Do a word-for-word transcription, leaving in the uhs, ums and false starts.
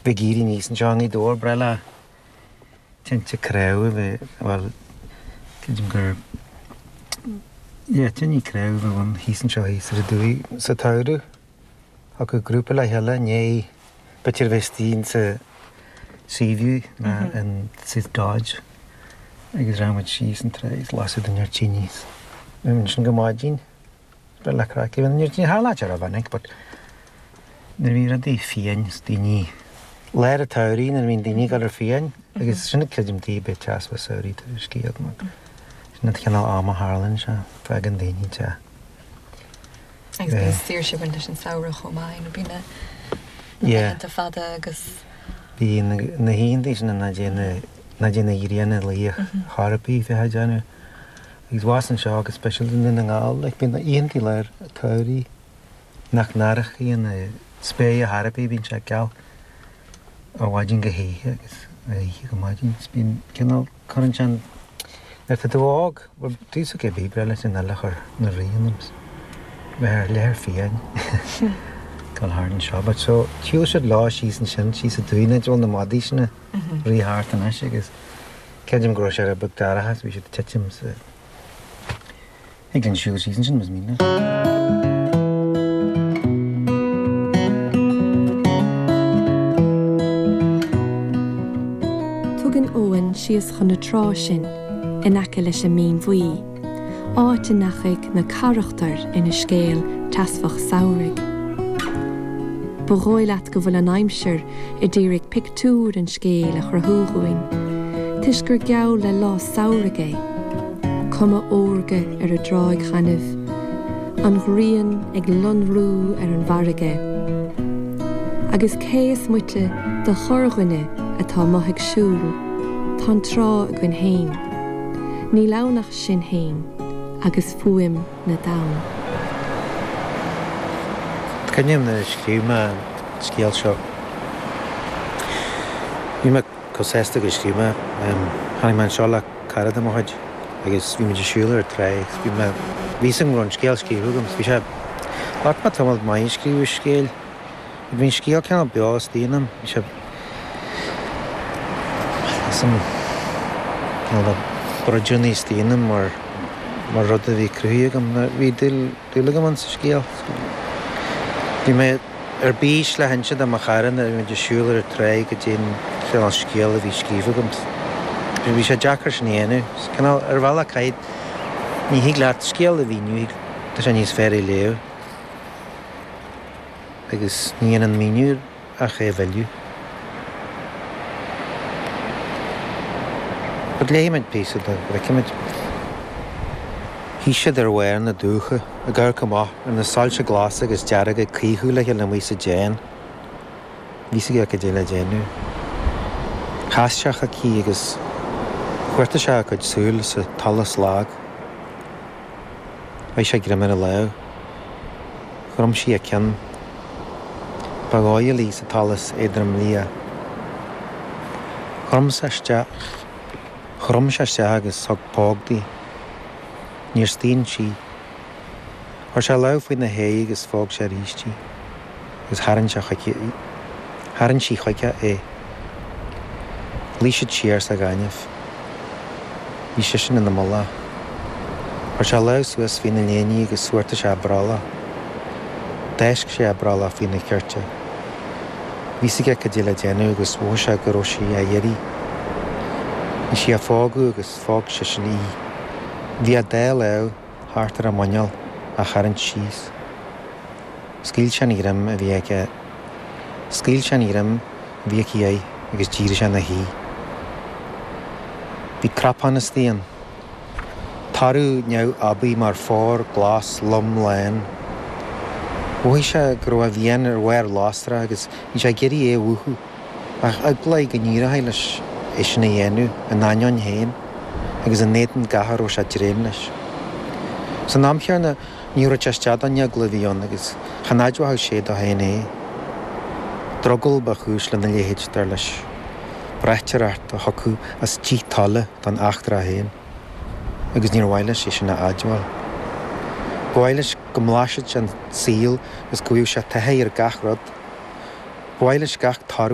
Bheith ag éirí aníos anseo i nGaoth Dobhair, breá le tinte cnámh a bheith, bhuel, creidim gur, yeah, tine cnámh a bheith ann thíos anseo thíos ar an dumhaigh sa tsamhradh. Thiocfadh grúpa le chéile i ndiaidh b'fhéidir a bheith istigh insa Seaview ná in South Dodge agus raghadh muid síos an trá is lasadh duine ar tine is bhí muid ansin go maidin. Breá le craic a bhí ann. Ní tharla sé rómhinic but nuair a bhí rudaí fiáin is daoine lár an tsamhraidh nuair a bhíonn daoine ag dul ar fiáin agus sin creidim taobh bith teas fá samhraidh tar éis scéal mar sin an cineál ama a tharlaíonn sé fágann daoine te. Agus bíonn saoirse ag baint leis an samhradh chomh maith nó bíonn na laethanta fada agus. Bíonn na hoícheanta sin nach dtéann nach dtéann an ghrian a luí chor ar bith bheith á déanamh agus abhus anseo go speisialta i nDún na nGall like bíonn oícheanta lár an tsamhraidh nach n-aireochaidh an spéir chor ar bith bíonn sé geal ó mhaidin go hoíche agus ó oíche go maidin is bíonn cineál cuireann sé an nuair atá tú óg bhuel tús ag bith breá leis an uile chur na rith ionam 's bheith ar leathar fiáin dul thart anseo but so shiúil siad leo síos ansin síos an dumhaigh an áit a bhfuil na madaí sin ag rith thart anois agus creidim go raibh sé rud beag dorcha so bhí siad ag titim sa Thig linn siúl síos ansin más mian leat. Tugann Eoghan síos chun na trá sinn in aice leis an Mín Bhuí, áit a ndeachaigh na carachtair ina scéal teasphach samhraidh. Ba dhóigh leat go bhfuil an aimsir a d'iarraidh pictiúr an scéil a chruthú dhúinn, toisc gur geall le lá samhraidh é, cuma órga ar an dtráigh ghainimh, an ghrian ag lonrú ar an bhfarraige. Agus cé is moite de chorrdhuine atá amuigh ag siúl, tá an trá againn féin. Níl ann ach sinn féin agus fuaim na dtonn. Cuimhním nuair a scríobh mé an scéal seo. Bhí mé chomh sásta gur scríobh mé. Tháinig mé anseo le cara de mo chuid agus bhí muid ag siúl ar an trá agus bhí mé, bhí a fhios agam go raibh an scéal scríofa agam. Bhí sé, ghlac mé tamall maith ag scríobh an scéil. Bhí an scéal cineál beo istigh ionam. Bhí sé, is an cineál de broidiúnaí istigh ionam mar, mar rud a bhí cruthaithe agam. Bhí dúil, dúil agam ann sa scéal. Bhí mé ar bís le hinse do mo chara nuair a bhí muid ag siúl ar an tráigh goidé an cineál scéal a bhí scríofa agam. Bhí sé deacair sin a dhéanamh. Cineál ar bhealach caithfidh, ní thig leat scéal a mhíniú, tá sé níos fearr é a léamh. Agus ní dhéanann míniú ach é a mhilleadh. But léifidh muid píosa de, go bhfeicfidh muid. Shuigh siad ar bharr na dumhcha, ag amharc amach ar na soilse glasa agus dearga ag caochadh le chéile amuigh sa díon. Bhí a fhios aige cad é le déanamh. Chas sé chuici agus chuartaigh sé a cuid súl sa tsolas lag. Chaith sé greim ar a lámh. Chrom sí a ceann. Ba dhóigh léi sa tsolas éadrom liath. Chrom sé isteach. Chrom sé isteach agus thug póg di. Níor staon sí. Chuir sé a lámh faoina haghaidh agus phóg sé arís í, agus tharraing sé chuici í. Tharraing sí chuige é. Luigh siad siar sa ghaineamh. Bhí seisean ina mullach. Chuir sé a lámh suas faoina léine agus chuartaigh sé a brollach. D'fháisc sé a brollach faoina chirte. Bhí a fhios aige cad é le déanamh agus mhothaigh sé go raibh sí á iarraidh. Bhí sí á phógadh agus phóg seisean í. Bhí a dá lámh thart ar a muineál á tharraingt síos. Scaoil sé an ghreim a bhí aige. Scaoil sé an ghreim a bhí aici air agus d'éirigh sé ina shuí. Bhí cnapán istigh ann. Toradh neamhaibí mar phár glas lom lán. Mhothaigh sé go raibh a mhian ar bharr lasrach agus bhí sé ag iarraidh é a mhúchadh, ach eagla air go n-éireochaidh leis é sin a dhéanamh ina ainneoin féin agus in éadan gach a raibh sé ag dréim leis. San am chéanna, ní thabharfadh sé isteach don eagla a bhí ann agus chan admhódh sé dó féin é. Drogall ba chúis lena leithéid, dar leis. Braighdeoireacht a thiocfadh as díth tola don eachtra féin. Agus níor mhaith leis é sin a admháil. Ba mhaith leis go mblaisfeadh sé an saol agus go bhfaigheadh sé taithí ar gach rud. Ba mhaith leis gach toradh